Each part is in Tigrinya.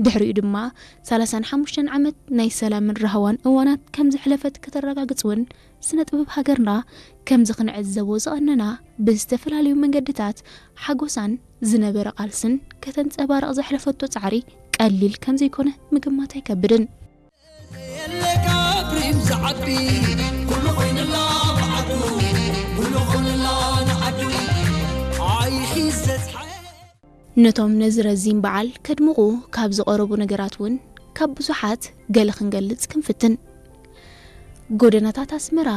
ድሕሪኡ ድማ ሰላሳን ሓሙሽተን ዓመት ናይ ሰላምን ራህዋን እዋናት ከም ዘሕለፈት ከተረጋግጽ እውን፣ ስነ ጥበብ ሃገርና ከምዚ ክንዕዘቦ ዝቐነና ብዝተፈላለዩ መንገድታት ሓጎሳን ዝነበረ ቃልስን ከተንጸባርቕ ዘሕለፈቶ ጻዕሪ ቀሊል ከም ዘይኮነ ምግማት ኣይከብድን። ነቶም ነዚ ረዚን በዓል ከድምቑ ካብ ዝቐረቡ ነገራት እውን ካብ ብዙሓት ገለ ክንገልጽ ክንፍትን። ጎደናታት ኣስመራ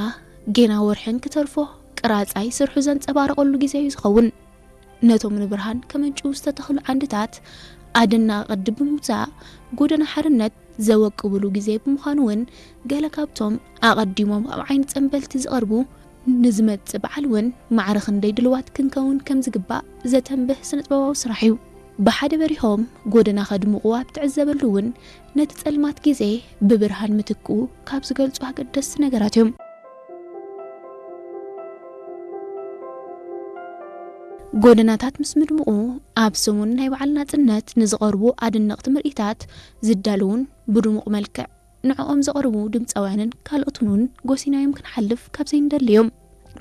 ጌና ወርሕን ክተርፎ ቅራጻይ ስርሑ ዘንጸባረቐሉ ግዜ እዩ ዝኸውን። ነቶም ንብርሃን ከመንጭዉ ዝተተኽሉ ዓንድታት ኣደና ቅዲ ብምውጻእ ጎደና ሓርነት ዘወቅብሉ ግዜ ብምዃኑ እውን ገለ ካብቶም ኣቐዲሞም ኣብ ዓይኒ ጸንበልቲ ዝቐርቡ ንዝመጽእ በዓል እውን ማዕረ ክንደይ ድልዋት ክንከውን ከም ዝግባእ ዘተንብህ ስነጥበባዊ ስራሕ እዩ። ብሓደ በሪሆም ጎደና ከድምቑ ኣብ ትዕዘበሉ እውን ነቲ ጸልማት ግዜ ብብርሃን ምትክኡ ካብ ዝገልጹ ኣገደስቲ ነገራት እዮም። ጎደናታት ምስ ምድምቑ ኣብ ሰሙን ናይ በዓል ናጽነት ንዝቐርቡ ኣደነቕቲ ምርኢታት ዝዳለውን ብድሙቕ መልክዕ ንዕኦም ዘቕርቡ ድምፃውያንን ካልኦትን እውን ጎሲናዮም ክንሓልፍ ካብ ዘይንደሊ እዮም።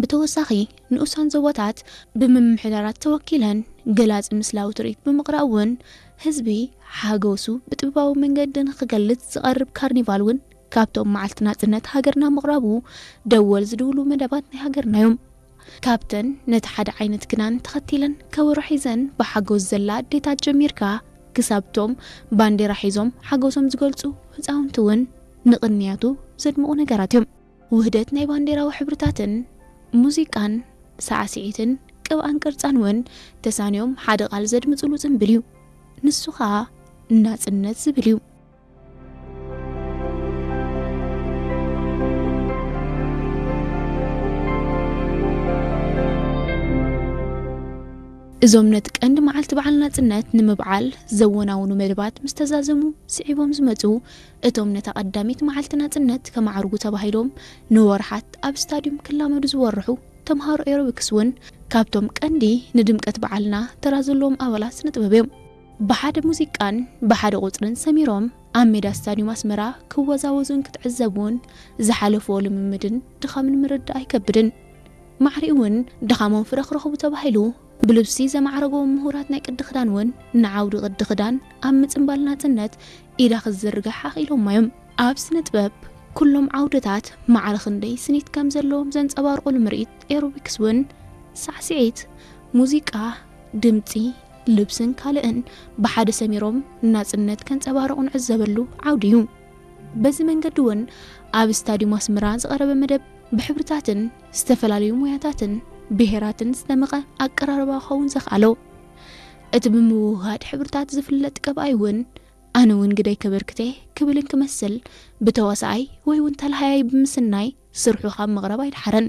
ብተወሳኺ ንኡሳን ዞባታት ብምምሕዳራት ተወኪለን ገላፂ ምስላዊ ትርኢት ብምቕራብ እውን ህዝቢ ሓጎሱ ብጥበባዊ መንገዲ ንክገልጽ ዝቐርብ ካርኒቫል እውን ካብቶም መዓልቲ ናጽነት ሃገርና ምቕራቡ ደወል ዝድውሉ መደባት ናይ ሃገርና እዮም። ካብተን ነቲ ሓደ ዓይነት ክዳን ተኸቲለን ከበሮ ሒዘን ብሓጎስ ዘላ ኣዴታት ጀሚርካ ክሳብቶም ባንዴራ ሒዞም ሓጎሶም ዝገልጹ ህፃውንቲ እውን ንቕንያቱ ዘድምቑ ነገራት እዮም። ውህደት ናይ ባንዴራዊ ሕብርታትን ሙዚቃን ሳዕስዒትን ቅብኣን ቅርጻን እውን ተሳንዮም ሓደ ቃል ዘድምፅሉ ጽንብል እዩ። ንሱ ኸኣ ናጽነት ዝብል እዩ። እዞም ነቲ ቀንዲ መዓልቲ በዓል ናጽነት ንምብዓል ዘወናውኑ መደባት ምስ ተዛዘሙ ስዒቦም ዝመጹ፣ እቶም ነታ ቀዳሚት መዓልቲ ናጽነት ከማዕርጉ ተባሂሎም ንወርሓት ኣብ ስታድዩም ክላመዱ ዝወርሑ ተምሃሮ ኤሮቢክስ እውን ካብቶም ቀንዲ ንድምቀት በዓልና ተራ ዘለዎም ኣባላት ስነ ጥበብ እዮም። ብሓደ ሙዚቃን ብሓደ ቁጽርን ሰሚሮም ኣብ ሜዳ ስታድዩም ኣስመራ ክወዛወዙን ክትዕዘቡን ዝሓለፍዎ ልምምድን ድኻምን ምርዳእ ኣይከብድን። ማዕሪኡ እውን ድኻሞም ፍረ ክረኽቡ ተባሂሉ ብልብሲ ዘማዕረጎም ምሁራት ናይ ቅዲ ክዳን እውን ንዓውዲ ቅዲ ክዳን ኣብ ምጽንባል ናጽነት ኢዳ ክዝርግሕ ኣኽኢሎማ እዮም። ኣብ ስነ ጥበብ ኩሎም ዓውድታት ማዕረ ክንደይ ስኒት ከም ዘለዎም ዘንጸባርቑሉ ምርኢት ኤሮቢክስ እውን ሳዕስዒት፣ ሙዚቃ፣ ድምጺ፣ ልብስን ካልእን ብሓደ ሰሚሮም ናጽነት ከንጸባርቑ ንዕዘበሉ ዓውዲ እዩ። በዚ መንገዲ እውን ኣብ ስታድዩም ኣስመራ ዝቐረበ መደብ ብሕብርታትን ዝተፈላለዩ ሞያታትን ብሄራትን ዝደመቐ ኣቀራርባ ክኸውን ዘኽኣሎ። እቲ ብምውህሃድ ሕብርታት ዝፍለጥ ቀብኣይ እውን ኣነ እውን ግደይ ከበርክተ ክብልን ክመስል ብተዋሳኣይ ወይ እውን ተላሃያይ ብምስናይ ስርሑ ካብ ምቕራብ ኣይደሓረን።